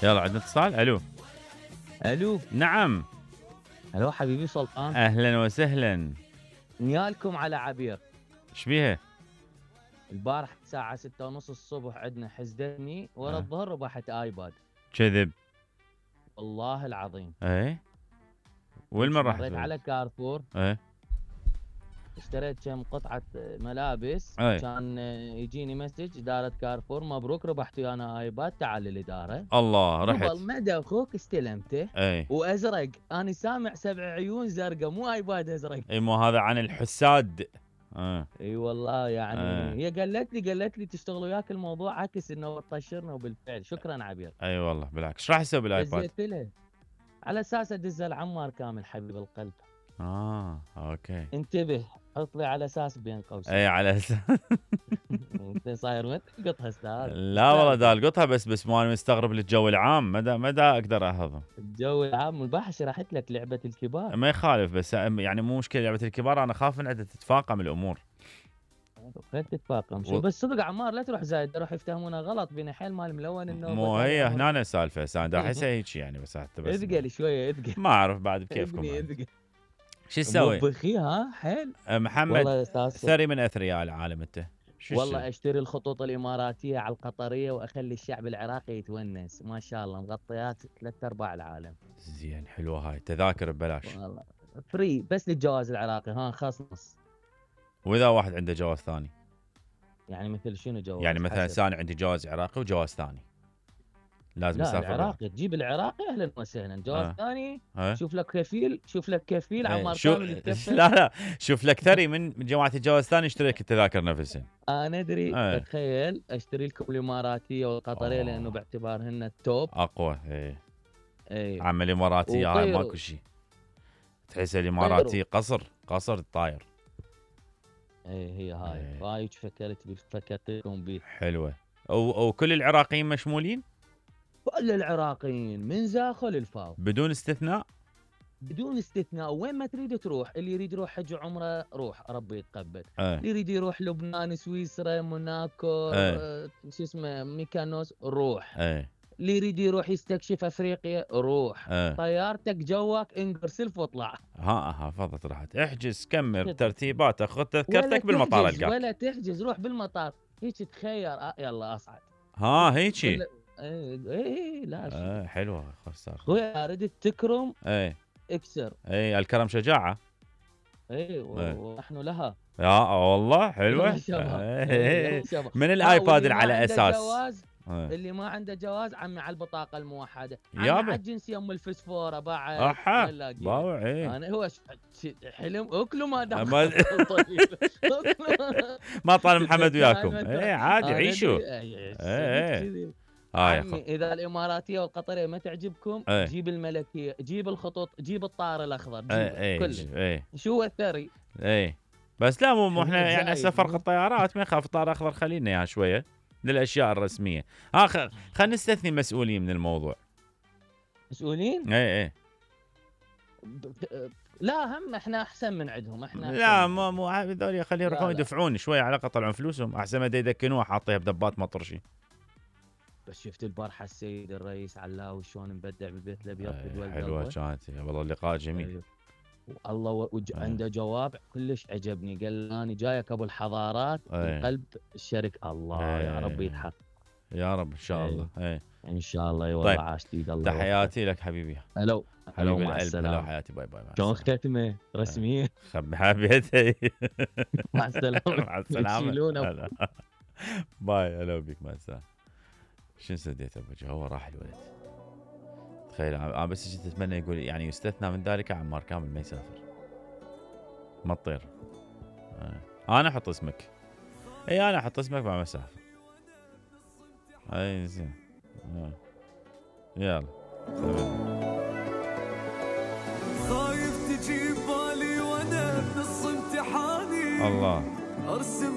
يلا عندنا اتصال. الو. الو. نعم. الو حبيبي سلطان. اهلا وسهلا. نيالكم على عبير. ايش بيها؟ البارح الساعة 6:30 الصبح عندنا حزدني ورا الظهر ربحت ايباد. كذب. والله العظيم. ايه. وين من رحت؟ مريت على كارفور. ايه. اشتريت كم قطعة ملابس. ايه. كان يجيني مسج إدارة كارفور مبروك ربحت ويانا ايباد تعال للإدارة. الله رحت. قبل مدى اخوك استلمته. ايه. وازرق انا سامع 7 عيون زرقاء مو ايباد ازرق. اي مو هذا عن الحساد. اي والله يعني هي قالت لي تشتغل وياك الموضوع عكس انه طشرنا وبالفعل شكرا عبير. اي والله بالعكس. ايش راح يسوي بالايباد؟ دزيت له على اساس ادزه لعمار كامل حبيب القلب. اوكي. انتبه حط لي على اساس بين قوسين. اي على اساس. انت صاير وين تلقطها استاذ؟ لا والله دا القطها بس ما انا مستغرب للجو العام مدى اقدر اهضم. الجو العام البارحه شرحت لك لعبه الكبار. ما يخالف بس يعني مو مشكله لعبه الكبار انا خاف من عندها تتفاقم الامور. خلت تتفاقم شو بس صدق عمار لا تروح زايد راح يفتهمونها غلط بين حيل مال ملون انه مو هي هنا السالفه سان دا احسها هيك يعني بس حتى بس اثقل شويه اثقل. ما اعرف بعد بكيفكم. شو تسوي؟ موبخي ها حيل. محمد ثري من اثرياء العالم انت. والله اشتري الخطوط الاماراتيه على القطريه واخلي الشعب العراقي يتونس ما شاء الله مغطيات 3/4 العالم. زين حلوه هاي تذاكر ببلاش. والله فري بس للجواز العراقي ها خاص نص. واذا واحد عنده جواز ثاني؟ يعني مثل شنو جواز؟ يعني مثلا انا عندي جواز عراقي وجواز ثاني لازم لا اسافر. العراقي تجيب العراقي اهلا وسهلا. جواز ثاني شوف لك كفيل عمار كامل لا شوف لك ثري من جماعه الجواز الثاني اشتري لك التذاكر نفسهن. انا ادري تخيل اشتري لكم الاماراتيه والقطريه لانه باعتبارهن التوب اقوى. اي عم الاماراتيه هاي ماكو شيء تحس الاماراتي قصر طاير. هي هاي فكرت لكم بيه حلوه. وكل العراقيين مشمولين؟ كل العراقيين من زاخو للفاو بدون استثناء؟ بدون استثناء. وين ما تريد تروح. اللي يريد يروح حج عمره روح ربي يتقبل. اللي يريد يروح لبنان سويسرا موناكو شو اسمه ميكانوس روح. اللي يريد يروح يستكشف افريقيا روح. طيارتك جواك انقرسلف واطلع. فضت راحت احجز كمل ترتيبات خذ تذكرتك بالمطار القاك. ولا تحجز روح بالمطار هيك تخير يلا اصعد. هيك ايه لا حلوه خسر خويا ردت تكرم اكسر. الكرم شجاعه. ونحن لها. والله حلوه. من الايباد على اساس اللي ما عنده جواز عمي على البطاقه الموحده على الجنسيه ام الفسفوره بعد. انا هو حلم اكلوا ما دام ما طال محمد وياكم. عادي عيشوا. عمي اذا الاماراتيه والقطريه ما تعجبكم جيب الملكيه جيب الخطوط جيب الطائر الاخضر جيب كله. شو الثري. بس لا مو احنا يعني سفر الطيارات ما يخاف الطائر الاخضر خلينا اياها شويه للاشياء الرسميه. خلينا نستثني مسؤولين من الموضوع. مسؤولين؟ لا هم احنا احسن من عندهم. احنا لا مو هذول خليهم يروحون يدفعون شويه على الاقل يطلعون فلوسهم احسن ما يدكنوها حاطيها بدبات مطرشي. بس شفت البارحه السيد الرئيس علاوي شلون مبدع بالبيت الابيض بدول حلوه كانت والله اللقاء جميل. والله عنده جواب كلش عجبني. قال انا جايك ابو الحضارات من قلب الشركه. الله يا رب يتحقق يا رب ان شاء الله. ان شاء الله والله. عاش ايد الله. تحياتي لك حبيبي. هلو مع السلامه. هلو حياتي باي شلون ختمه رسميه؟ حبيتي. مع السلامه. مع السلامه. باي هلو بيك مع السلامه. شنو سديت ابوجه هو راح الولد. تخيل انا بس جيت اتمنى يقول يعني يستثنى من ذلك عمار كامل ما يسافر ما تطير. انا احط اسمك. انا احط اسمك مع مسافه. زين يلا خايف تجيب بالي وانا بنص امتحاني. الله. ارسم